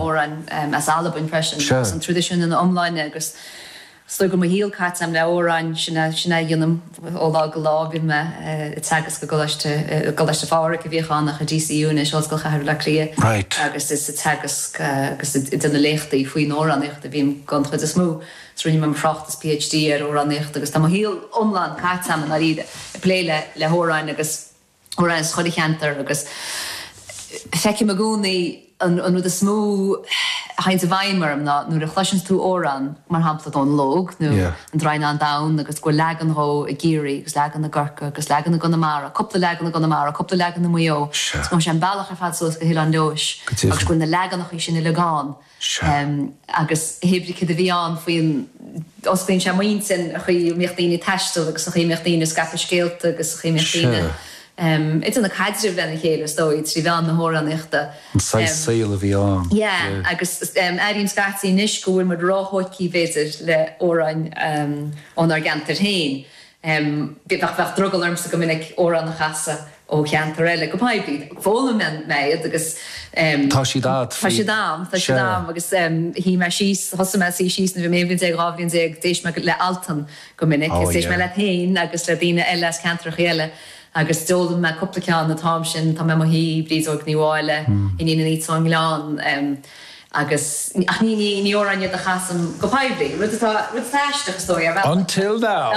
amhráin as Albain freisin agus an traidisiún ina iomláine agus is dóigh go bhfuil mo shaol caite agam le hamhráin, sin é, sin é a dhéanaim ó lá go lá. Bíonn mé ag teagasc i gColáiste, i gColáiste Phádraig a bhíodh ann ach i DCU anois, Ollscoil Chathair Bhaile Átha Cliath agus is ag teagasc agus ag déanamh léachtaí faoin amhránaíocht a bhím den chuid is mó. Is rinne mé mo thráchtas PhD ar amhránaíocht agus tá mo shaol iomlán caite agam i ndáiríre ag plé le, le hamhráin agus. amhráin as chuile cheantar agus feicim i gcónaí an rud is mó a théanns i bhfeidhm orm ná nuair a chloiseanns tú amhrán, mar shampla Dónal Óg nó An Draighneán Donn agus go bhfuil leagan dhó i gCiarraí agus leagan i gCorcaigh agus leagan i gConamara, cúpla leagan i gConamara, cúpla leagan i Maigh Eo agus go bhfuil sé an bealach ar fad suas go hOileán Leodhais agus go bhfuil na leaganachaí sin uilig ann. Agus hé brí céard a bhí ann faoin, osclaíonn sé m'intinn, an chaoi a mbíodh daoine ag taisteal agus an chaoi a mbíodh daoine ag scaipeadh scéalta agus an chaoi a mbíodh daoine ag déanamh caidrimh lena chéile, is dóigh, trí mheán na hamhránaíochta. An saghas saoil a bhí ann. Yeah, agus airím scaití anois go bhfuil muid róthógtha, b'fhéidir, le hamhráin ónár gceantair féin. Bheadh drogall ormsa go minic amhrán a chasadh ó cheantar eile go poiblí. D'fhoghlaim mé iad agus. Tá siad a'd. Tá siad a'm, tá siad a'm agus shuigh mé síos, thosaigh mé ag suí síos nuair a bhí mé 11 bhliain, 12 bhliain, d'éist mé le Altan go minic agus d'éist mé leat féin agus le daoine eile as ceantracha eile agus d'fhoghlaim mé cúpla ceann an t-am sin, Tá mé i mo shuí, Bríd Óg Ní Mháille, Iníon an Fhíona ón nGleann. Agus, ach ní, ní, ní amhráin iad a chasaim go poiblí, rud atá, rud atá aisteach is dóigh, ar bhealach. Until now!